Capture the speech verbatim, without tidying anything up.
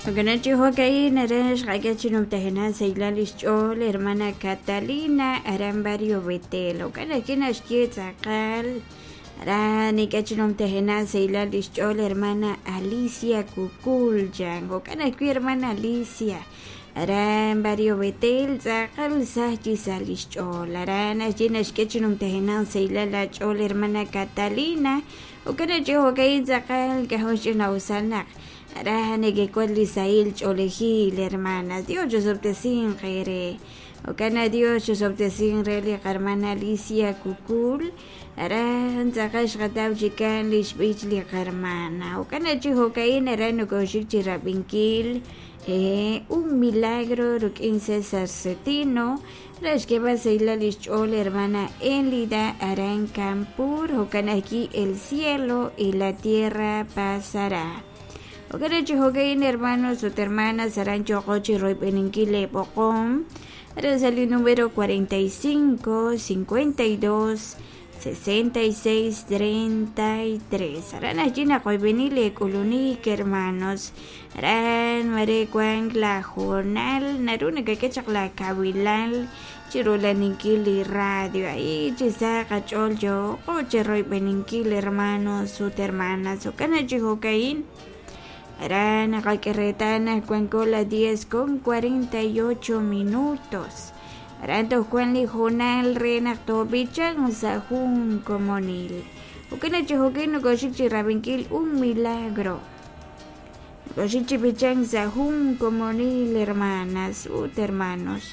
Jo'kan chi jo'ka'in aran xqak'e chi numtajenaq sahilal lix ch'ool hermana Catalina aran barrio Betel. Jo'kan ajwi' naxye tz'aqal aran nik'e chi numtajenaq sahilal lix ch'ool hermana Alicia Cucul chan. Jo'kan ajwi' hermana Alicia aran barrio Betel tz'aqal saj chi sa lix ch'ool. Aran naxye naxk'e chi numtajenaq sahilal la ch'ool hermana Catalina. Jo'kan chi jo'ka'in tz'aqal k'ajo' xch'ina'usal naq aran nekekuat li sahil ch'oolejil hermanas. Dios chusob'tesin qere. Jo'kan Dios chusob'tesin re li qarmana Alicia Cucul. Aran tz'aqal xqataw chikan lix b'ich li qarmana. Jo'kan chi jo'ka'in aran nokoxik chi rab'inkil eh, un milagro ruk'in César Cetino. Re xk'eb'al sahilal lix ch'ool hermana Elida aran Campur. Jo'kan ajwi' el cielo y la tierra pasará. Jo'kan chi jo'ka'in hermanos ut hermanas aran choqo chi royb'eninkil leb'oqom. Aran sa li número cuarenta y cinco, cincuenta y dos, sesenta y seis, treinta y tres. Aran ajwi' naqoyb'eni lek'ulunik hermanos. Aran mare kuan la jornal naru nakak'e chaq la kawilal chirulaninkil li radio ahí chi sa qach'ool yoqo chi royb'eninkil hermanos ut hermanas. Jo'kan chi jo'ka'in aran naqak'e cuanco las diez con cuarenta y ocho minutos. Aran tojkuan li jornal re naq tob'ichan sa jun komonil. Jo'kan chi jo'ka'in nokoxik chi rab'inkil un milagro. Nokoxik chi b'ichan sa jun komonil hermanas ut hermanos.